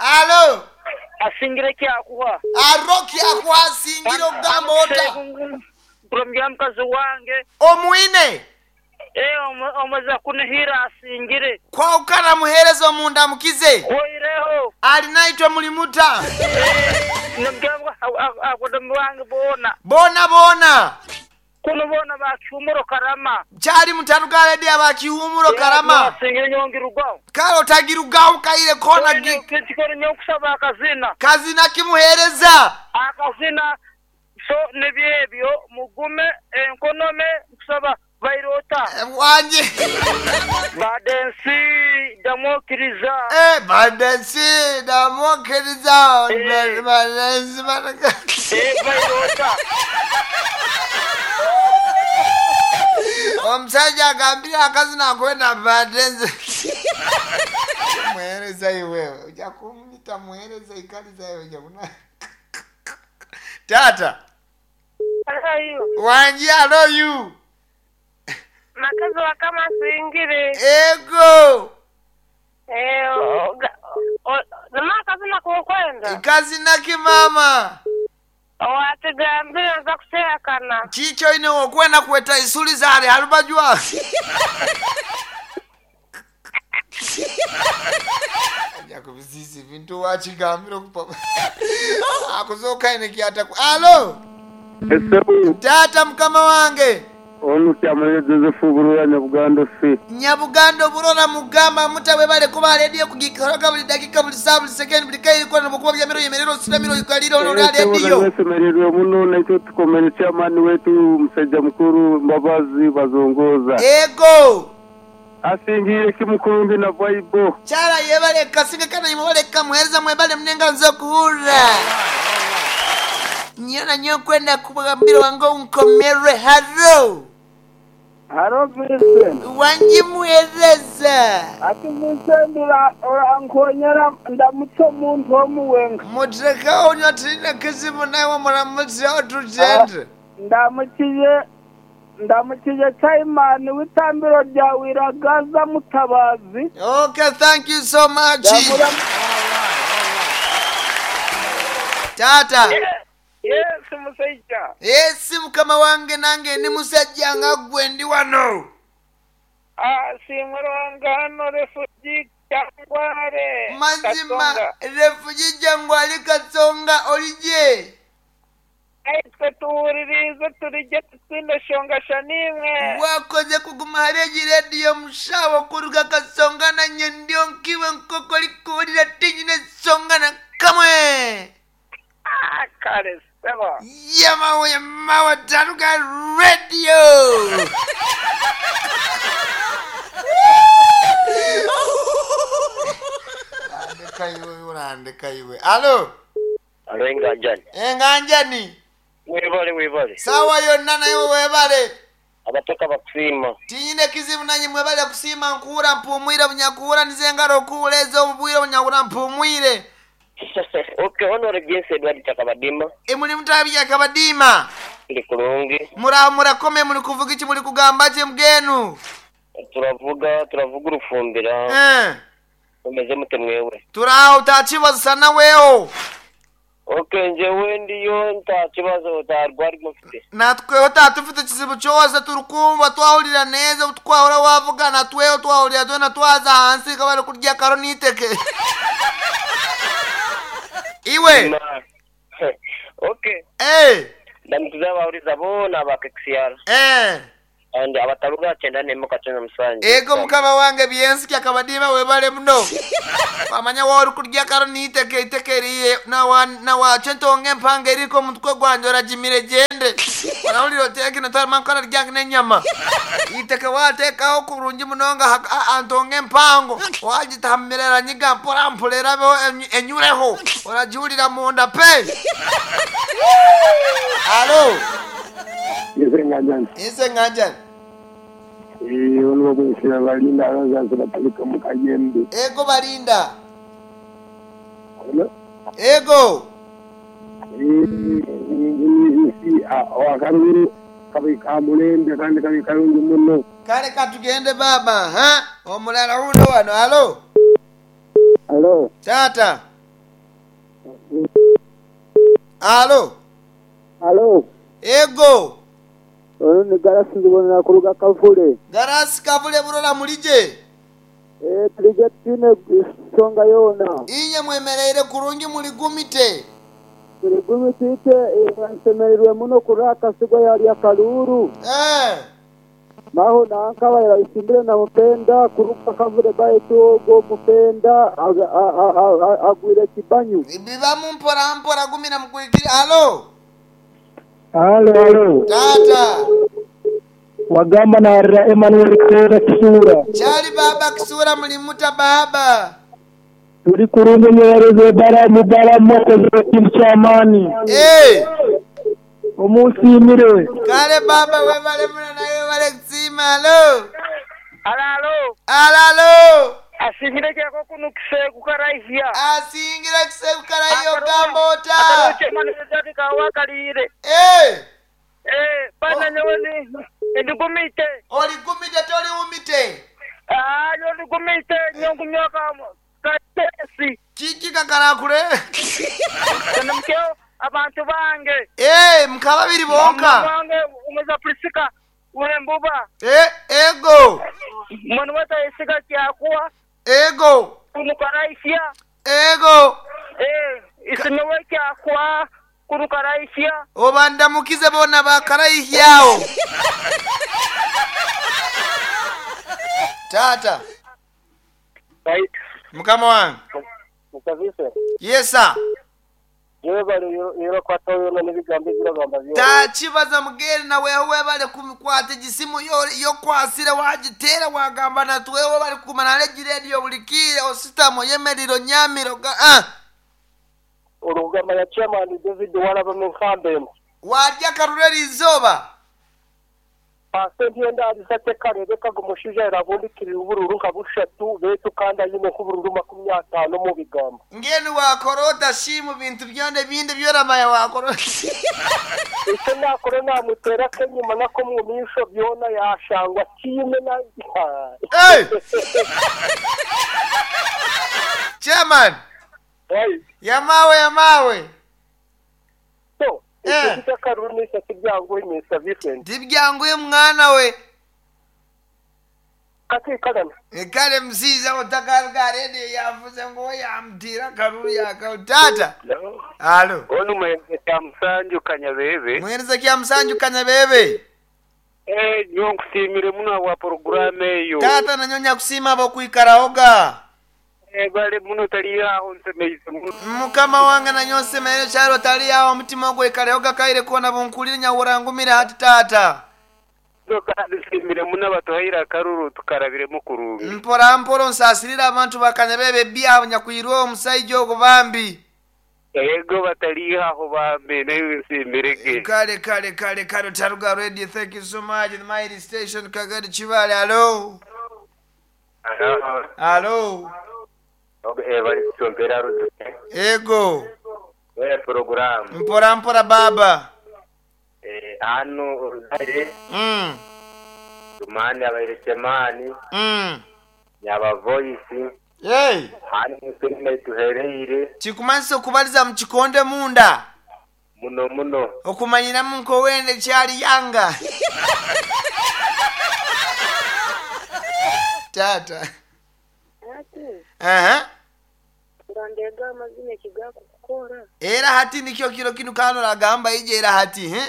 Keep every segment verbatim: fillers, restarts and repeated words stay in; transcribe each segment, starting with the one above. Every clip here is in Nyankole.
Alo. Asingire kyakuha. Aro kyakuha asingire okugamba ota. Kulomya mukazi wange. Omwine. Eh, omaze kunihira asingire. Kwawukana muheereza omunda mukize. Oireho. Alinaitwe mulimuta. Nomugamba akodomi wange boona. Boona boona. Kuno boona bakihumuro karama. Kyali mutaruga ledi abakihumuro karama. Asingire nyongirugwaho. Kale otagirugaho kaire kona gi. Kikore nyokusaba akazina. Kazina kimuheereza. Akazina so nebyebyo mugume enkonome kusaba bairota. Wanje. Badensi damokiriza. Eh, badensi damokiriza. Badensi badensi. Eh, bairota. Omusajja agambire akazina akwenda badensi. Muheereza iwe. Ojja kumuyita muheereza ikaliza iwe ojja kuna. Tata. Hello. Wanji alo you. Makazi wa kama singire. Ego. Eh, namaka kukwenda. Kazina kimama. Watigambira nza kuteekana. Chicho ine okwenda kweta isuli zale halubajwa. Ajja kubizisi bintu wachigambira okupa. Akuzoka ine kiata. Alo. Esebu. Tata mukama wange. Onu kyamale Joseph Burora Nyabugando si. Nyabugando Burora mugamba mutawe bale kuba radio kugikoroga buli dakika buli saa buli second buli kairi kwa mukuba bya miro yemerero sira miro ikaliro no radio. Nesemererwe muno nakyo tukomere chairman wetu musajja mukuru Mbabazi bazongoza. Ego. Asingire kimukurumbi na vaibo. Chala yebale kasinga kana yimwale kamuhereza mwebale mnenga nzo kuhura. Nyana nyokwenda kubagambira wango unkomere haro. Haro Vincent. Wanji muhereza. Ati Vincent urankonyera ndamutse omuntu omuwenga. Mutreka onyo tirina kizibu nawe muramutse otugende. Ndamukiye ndamukiye chairman w'itambiro rya Wiragaza Mutabazi. Okay, thank you so much. Tata. Yes, musajja. Yes, mukama wange nange ndi musajja nga gwe ndi wano. Ah, simuranga hano refugee Jangwale. Mazima refugee Jangwale Katsonga olije. Aitwe tuwulirize tulijye tutinde shongasha nimwe. Wakoze kuguma hareji radio mushawo kuruga Katsonga na nyendio nkiwe nkoko likuwulira tinyine songa na kamwe. Ah, kale. Yamawe yamawe Taruga Radio. Andika iwe urandika iwe. Alo. Alo enganjani. Enganjani. Webale webale. Sawa yonna nayo webale. Abatoka bakusima. Tinyine kizibu nanyi mwebale kusima nkuura mpumwire bunyakuura nizengaro okuwuleza obubwire bunyakura mpumwire. Okay, Honorable James Edward Chakabadima. Emuli mutabi Yakabadima. Ndi kulungi. Mura murakome muli kuvuga iki muli kugamba ki mgenu? Turavuga turavuga urufumbira. Eh. Umeze mute mwewe? Turaho utakibazo sana weho. Okay, njewe ndiyo ntakibazo utarwari mufite. Natwe tatufite kizibu cyose turukumva twahurira neza twahora wavuga natweho twahurira twena twaza hansi kabari kurya karo niteke. Iwe. Okay. Eh. Ndamukiza abahuriza bona ba K X R. Eh. And abataruga cyenda nemo kacana musanje. Ego mukama wange byensi Kyakabadima webale muno. Wamanya wori kurya karo niteke itekeriye na wa na wache ntonge mpanga eriko mutwe gwanje oragimire gende. Orawulira oteke natarama nkora ryange n'enyama. Iteke watekaho kurungi munonga antonge mpango. Wagitamirera nyiga mpora mpolera enyureho. Oragiwulira munda pe. Alo. Ese nganjani. Ese nganjani. Eh, ono bwesira balinda abazazi batalika mu kayembe. Ego balinda. Ego. Eh, wakarubiri kabi kamulembe kandi kabi kalungi muno. Kale katugende baba, ha? Omulala uno wano, alo. Alo. Tata. Alo. Alo. Ego. Ono ni Garasi ndibonera kuruga Kavule. Garasi Kavule burora mulije. Eh tulije tine songa yona. Inye mwemereire kurungi muligumite. Tuligumite ite nsemereirwe muno kuraka sigwa yali akaluru. Eh. Maho nanka isimbire na mupenda kuruka Kavule baitu go mupenda agwire kibanyu. Biba mpora mpora gumina mkuikiri. Alo. Halo, halo. Tata. Wagamba na Arra Emmanuel Kera Kisura. Chali baba Kisura mlimuta baba. Tuli kurungu nyereze bara mubara moko zote chamani. Eh. Omusimire. Kale baba webale muna na webale kusima. Halo. Alalo. Alalo. Asingire kyako kuno kiseku karaihia. Asingire kiseku karaihia ogamba ota. Akaruche manezaki kawakalire. Eh. Eh, bana nyowe ni ndigumite. Oligumite toli umite. Ah, nyo ndigumite nyongu nyoka katesi. Kiki kakarakure. Kana mkeo abantu bange. Eh, mkababiri bonka. Bange umeza Prisika wembuba. Eh, ego. Mwana wata isika kyakuwa. Ego. Kunukaraishia. Ego. Eh, isinowe kyakwa kunukaraishia. Obandamukize bona bakaraihiao. Tata. Right. Mukama wangu. Mukavise. Yes sir. Yewe bali yero kwata yona nibigambo biragamba byo. Tachibaza mugere na wewe bale kumikwata gisimu yo yo kwasire wagitera wagamba na twewe bali kumana leji radio bulikire ositamo yemeriro nyamiro ah. Urugamba ya chairman David walaba mu nkambe. Wajya karureri izoba. Pasenti yenda alisate karebe kagumushuja irabundikira ubururu nka bushatu betu kandi ayine kubururu makumi atano mu bigambo. Ngeni wakorota shimu bintu byonde bindi byoramaya wakorota. Icyo nakora namutera kenyuma nako mu misho byona yashangwa kime na. Hey! Chairman. Hey. Yamawe yamawe. So, eh. Karuni kibyangu imisa Vincent. Dibyangu mwana we. Kati kalana. Ekale msiza otakaruka radio yavuze ngo yamtira karuru yaka tata. Halo. Onu mwenze kya Musanju Kanyabebe. Mwenze kya Musanju Kanyabebe. Eh, nyo nkusimire muno wa programme eyo. Tata nanyonya kusima abo kuikaraoga. Eh, bale muno tali aho nsemeize muno. Mukama wange nanyonse mere charo tali aho mutima gwe ikareoga kaire kona bunkulire nyawurangumira hati tata. Nsimire muno batuhaira karuru tukarabiremo kurungi. Mpora mpora nsasirira abantu bakanyabebe bya nyakwirwa omusaijo ogubambi. Ego batali aho bambe nayo nsimirege. Kale kale kale kale Taruga Radio, thank you so much. The Mighty Station Kagadi Chibale. Hello. Hello. Hello. Eh bali kuchombera ruzi. Ego. We program. Mpora mpora baba. Eh ano urudare. Mm. Tumani abayirekemani. Mm. Nyaba voice. Hey. Hani musime tuhereire. Chikumanso kubaliza mchikonde munda. Muno muno. Okumanyira munko wende chali yanga. Tata. Aha. Ndandega amazina kigako kukora. Era hati nikyo kiro kinu kano ragamba ije era hati, he?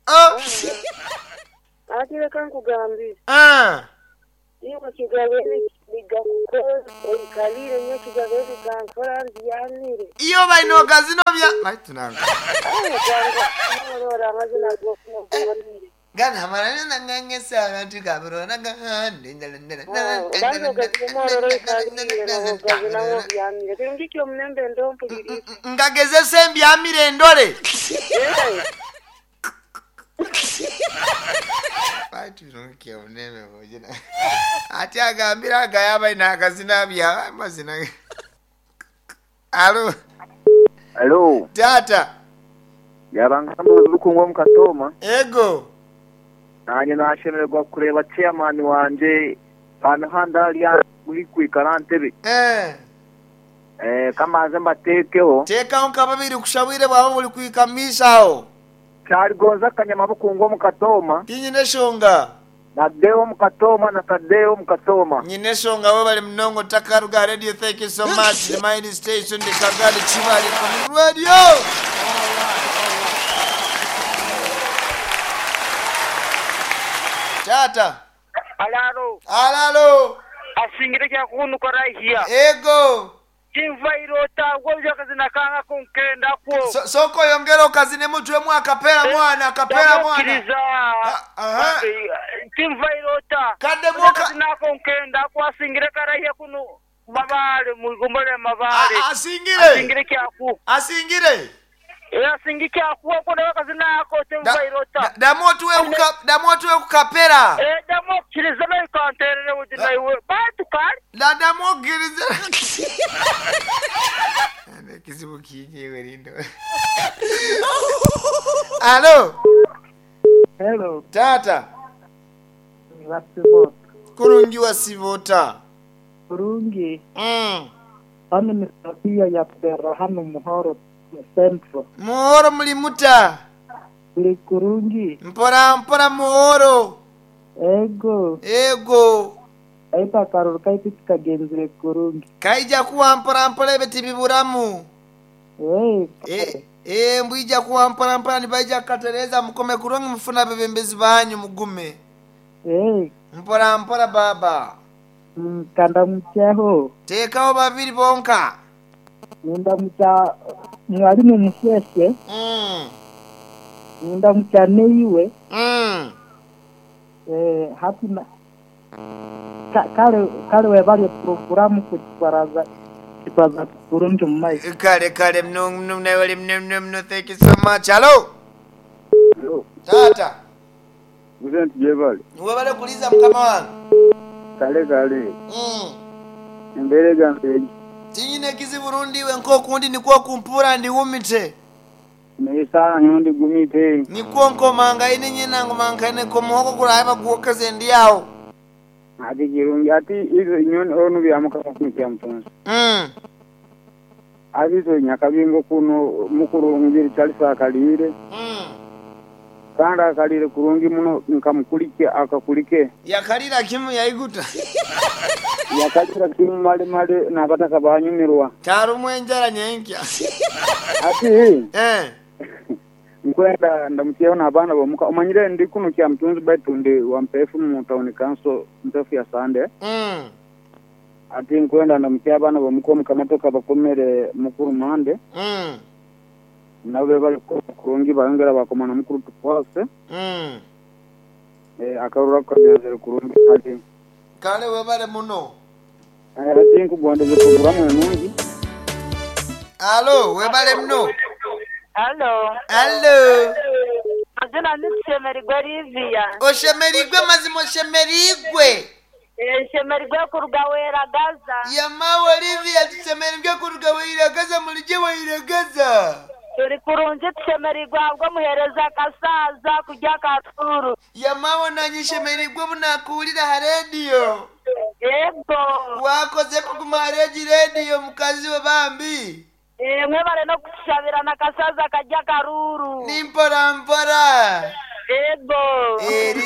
Oh. Ati kankugambi. Ah. Iyo kigabe bigakukora oikalire nyo kigabe bigankora ndyanire. Iyo baino gazino bya maitunanga. Ora amazina gokukora. Gana marana ngangesa abantu kaburona gahande ngageze sembyamire ndore baitu uneme bojina ati agambira agayaba ina akazina bya amazina. Alo. Alo. Tata. Yabangamba rukungwa mukatoma. Ego. Nanye nashemererwa kureba chairman wanje panahanda ali muri kwikara ntebe. Eh. Eh, kamanze mbateekeho. Teekaho nka babiri kushabwire bwaba buri kwikamisha aho. Kyaligonza kanyama bukungu omu Katooma. Tinyine eshonga. Na Deo omu Katooma na Tadeo omu Katooma. Nyine eshonga we bali mnongo takaruga radio. Thank you so much. The mighty station, the Kagadi Chibali Community Radio. Tata. Alaro. Alalo. Asingire kyakunuka rahia. Ego. Tinvairota gwoja kazina kanga kunkenda kwo. So, soko yongera okazine mutwe akapera mwana akapera mwana. Ndamukiriza. Aha. Tinvairota. Kadde mwoka Kazina kunkenda kwo asingire karahia kuno mabale mugombole mabale. A- asingire. Asingire kyaku. Asingire. Eh asingi kyaku ko na kazina ako tinvairota. Damu otuwe kuka damu otuwe kukapera. Eh ndamukiriza nayo kanterere uti naiwe. Bantu kali. Da damu okiriza. Kizibu kinyewe lindo. Alo. Hello. Tata. Vasivota. Kurungi wa sivota. Kurungi. Mm. Hano ni Sofia ya Pera hano Muhoro Central. Muhoro mulimuta. Turi kurungi. Mpora mpora muhoro. Ego. Ego. Aita akaruru kaitu tukagenzire kurungi. Kaija kuwa mpora mpora ebiti biburamu. Hey. Eh, eh mbwija kuwa mpora mpora nibaija kukatereza mukome kurungi mufuna bebembezi banyu mugume. Hey. Mpora mpora baba. Mm, kandamukyaho. Teekawo babiri bonka. Nindamukya mwalimu Musheshe. Mm. Nindamukya neiwe. Mm. Eh, hati na Ka- kale kale webale programu kukibaraza kibaza kurungi mu maiso. Kale kale mno mno mno mno mno mno thank you so much. Hello. Hello. Tata. President Jebali. Webale kuliza mukama wange. Kale kale. Mm. Embere gange. Tinyine kizibu rundi we nkokundi nikwo kumpura ndiwumite. Neisa nyondi gumite. Nikwo nkomanga ine nyina ngomanga ine komuhoko kuraiba kuwokeze ndi yawo. Ati kirungi ati izo inyoni onu byamuka kya mtonzi. Mm. Abizo nyakabingo kuno mukuru ngiri Charles akalire. Mm. Kandi akalire kurungi muno nkamukulike akakulike. Yakalira kimu yaiguta. Yakalira kimu male male n'abataka banyumirwa. Tarumwe enjara nyenkya. Ati eh nkwenda ndamukyeho n'abaana bomuka omanyire ndi kuno kya mtunzi baitu ndi wa mpefu mu town council mpefu ya Sande. Mm. Ati nkwenda ndamukye abaana bomuka omukamatoka bakomere mukuru mande. Mm. Nabo bali kurungi bayongera bakomana mukuru tukwase. Mm. Eh akarura kagenzere kurungi ati Kale webale muno. ati nkugondeze programu enungi. Alo webale muno. Hello. Hello. Mazina ni Shemerigwe Livia. Oshemerigwe mazima oshemerigwe. Eh, Shemerigwe kuruga Weragaza. Yamawe Livia tushemerigwe kuruga Weragaza mulije Weragaza. Turi kurungi tushemerigwe ahubwo muhereza akasaza kujya katuru. Yamawe nanye shemerigwe munakuwulira ha radio. Yego. Wakoze kuguma ha regi radio mukazi we bambi. Eh, mwebale no kushabirana kasaza kajya karuru. Ni mpora mpora. Yego. Eri